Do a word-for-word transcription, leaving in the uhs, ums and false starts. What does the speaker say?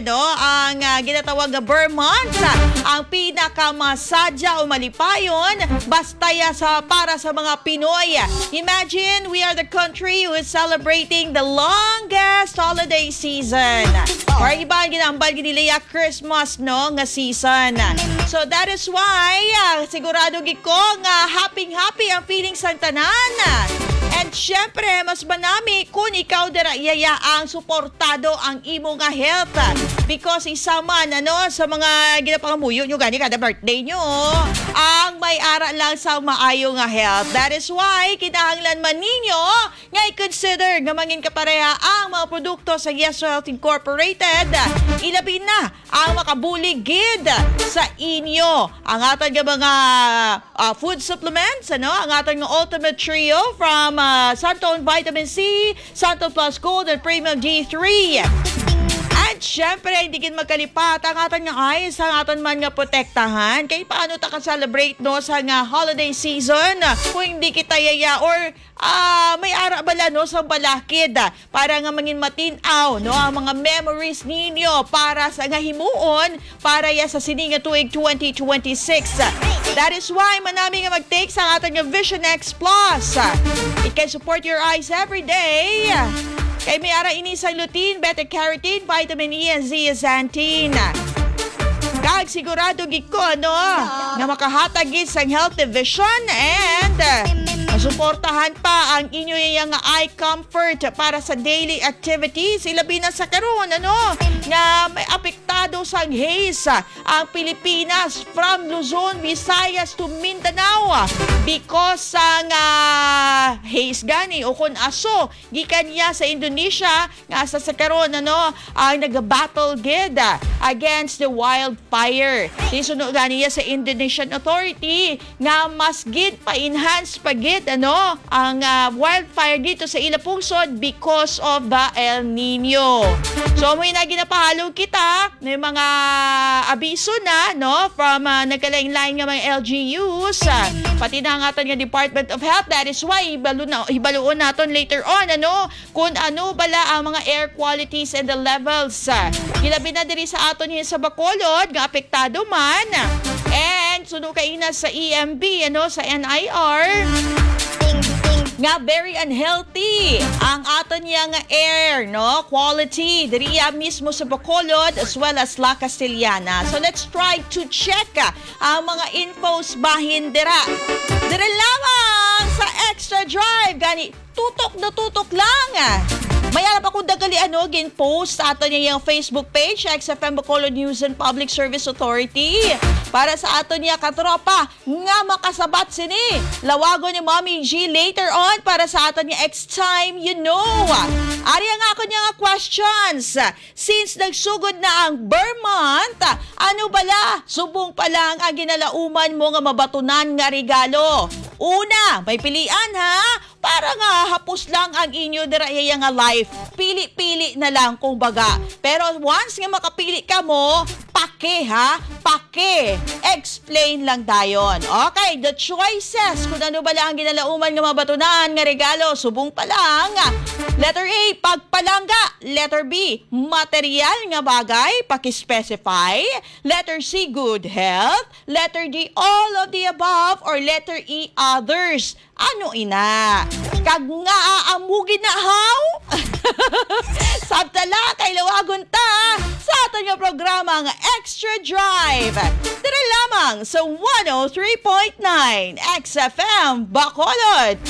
no, ang, ah, ginatawag nga Vermont, ang pinakamasadya o malipayon, basta ya sa, para sa mga Pinoy. Imagine, we are the country who is celebrating the longest holiday season. Or iba, ginambal gid nila ya Christmas, no, nga season. So that is why, ah, sigurado gid ko nga happy-happy ang feelings sang tanan. And syempre, mas manami kung ikaw dira yaya ang suportado ang imo nga health. Because isa man, ano, sa mga ginapangamuyo nyo gani kada birthday nyo, ang may ara lang sa maayo nga health. That is why kinahanglan man ninyo nga i-consider nga mangin kapareha ang mga produkto sa Yes Health Incorporated, ilabi na ang makabulig gid sa inyo. Ang aton nga mga, ah, food supplements, ano? Ang aton nga Ultimate Trio from, ah, Santon Vitamin C, Santon Plus Gold, and Premium D three. And syempre, hindi gid magkalipat ang aton nga eyes, ang aton man nga protektahan. Kay paano ta ka-celebrate, no, sa nga holiday season kung hindi kita yaya or, ah, may ara bala, no, sa balakid, ah, para nga mangin matin-aw, no, ang mga memories ninyo para sa nga himuon para ya sa sini nga tuig twenty twenty-six. That is why manami nga mag-take sa aton nga Vision X Plus. It can support your eyes every day. Kay may ara ini sa lutein, beta-carotene, vitamin E, and zeaxanthin. Kag sigurado gid ko, no, nga makahatag gid sang healthy vision and, uh, masuportahan pa ang inyo iya nga eye comfort para sa daily activities. Ilabi na sa karon, ano, nga may apektado sang haze, ah, ang Pilipinas from Luzon, Visayas to Mindanao, ah, because sang, ah, haze gani o kon aso gikan niya sa Indonesia nga sa, sa karon, ano, ang nag-battle gid, ah, against the wildfire. Isuno gani niya sa Indonesian authority nga mas gid pa-enhance pa gid, ano, ang, ah, wildfire dito sa ila pungsod because of the El Nino. So, amoy na ginapahalog kita, may mga abiso na, no, from, ah, nagkalain-lain nga mga L G Us, ah, pati na ang aton nga Department of Health. That is why, hibalo na, hibaluon naton later on, ano, kung ano bala ang mga air qualities and the levels. Ah, ilabi na diri sa aton hin sa Bacolod nga apektado man. And suno kaina sa E M B, ano, sa N I R, nga very unhealthy ang aton niya nga air, no, quality diriya mismo sa Bacolod as well as La Castellana. So let's try to check, ah, ang mga infos bahin dira. Dira lamang sa Extra Drive gani, tutok na tutok lang. May alam akong dagali, ano, gin-post sa aton niya yung Facebook page, X F M Bacolod News and Public Service Authority. Para sa aton niya katropa nga makasabat sini, lawagon ni Mommy G later on para sa aton niya X Time You Know. Ari ang ako niya nga questions. Since nagsugod na ang Vermont, ano bala subong pa lang ang ginalauman mo nga mabatunan nga regalo? Una, may pilian, ha? Para nga hapos lang ang inyo dira iya nga life. Pili-pili na lang, kung baga. Pero once nga makapili ka mo, pake, ha? Pake. Explain lang dayon. Okay, the choices. Kung ano bala ang ginalauman nga mabatunan nga regalo, subong pa lang. Letter A, pagpalangga. Letter B, material nga bagay, paki-specify. Letter C, good health. Letter D, all of the above. Or letter E, others. Ano ina? Kag nga amo gid na, haw? Sabta la kay lawagon ta sa aton nga programa nga Extra Drive. Dira lamang sa one oh three point nine X F M Bacolod.